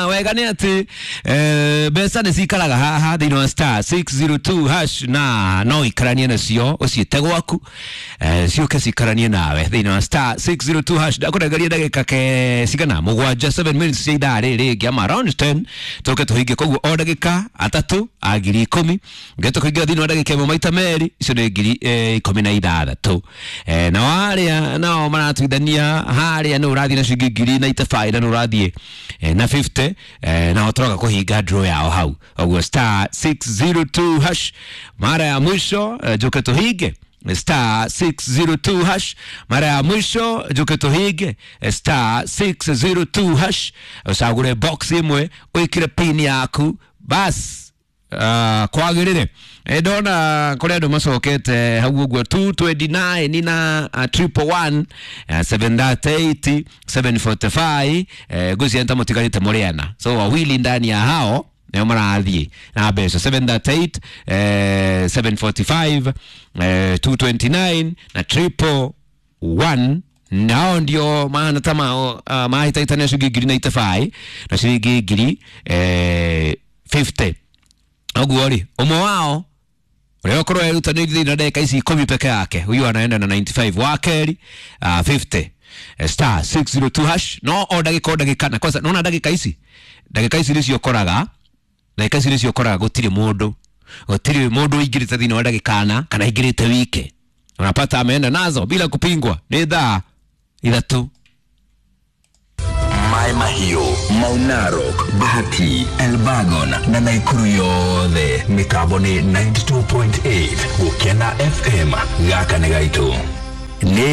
Wega nĩ atĩ mbeca nĩ cikaraga haha thĩinĩ wa star 602 hash, na no ikaranie nacio ũciĩte gwaku, ciũke cikaranie nawe thĩinĩ wa star 602 hash. Ndakũnengeria ndagĩka ke cigana mũgwanja, 7 minutes cia ithaa rĩrĩ rĩngĩ ama around 10 tũke tũhinge. Koguo o ndagĩka atatũ a 10,000 ngete kũingĩra thĩinĩ wa ndagĩka ĩmwe maita merĩ, icio nĩ 16,000. Na arĩa nao maratuithania harĩa nĩ ũrathiĩ na ciringi ngiri na itabaĩ na nĩ ũrathiĩ na 50, nao tũroka kũhinga draw yao hau ũguo star 602 hash mara ya mwisho, njuke tũhinge star 602 hash mara ya mwisho, njuke tũhinge star 602 hash, ũcagũre box ĩmwe, wĩkĩre pin yaku bas. Kwagĩrĩre. Ndona kũrĩ andũ macokete hau ũguo 229 na 111, 738, 745, ngwĩciria nĩ ta mũtigarĩte mũrĩ ana, so wawili ndani ya hao nĩo marathiĩ na mbeca 738, 745, 229 na 111. Nao ndio mahana ta mao mahĩtahĩtania ciringi ngiri na itabaĩ na ciringi ngiri 50. Ũguo rĩ, ũmwe wao ũrĩa ũkorwo erutanĩirie thĩinĩ wa ndagĩka ici 10 peke yake, huyu anaenda na 95, wa kerĩ 50. Star 602 hash, no o ndagĩka o ndagĩka, na kwanza nona ndagĩka ici nĩcio ũkoraga, ndagĩka ici nĩcio ũkoraga gũtirĩ mũndũ ũingĩrĩte thĩinĩ wa ndagĩka ana kana aingĩrĩte wike, unapata ameenda nazo bila kupingwa. Nĩ thaa 3. Maĩ Mahiũ, Mau Narok, Bahati, Elbagon na Naikuru yothe mĩtambo nĩ 92.8 Gũkena FM. Gaka nĩ gaitũ nĩ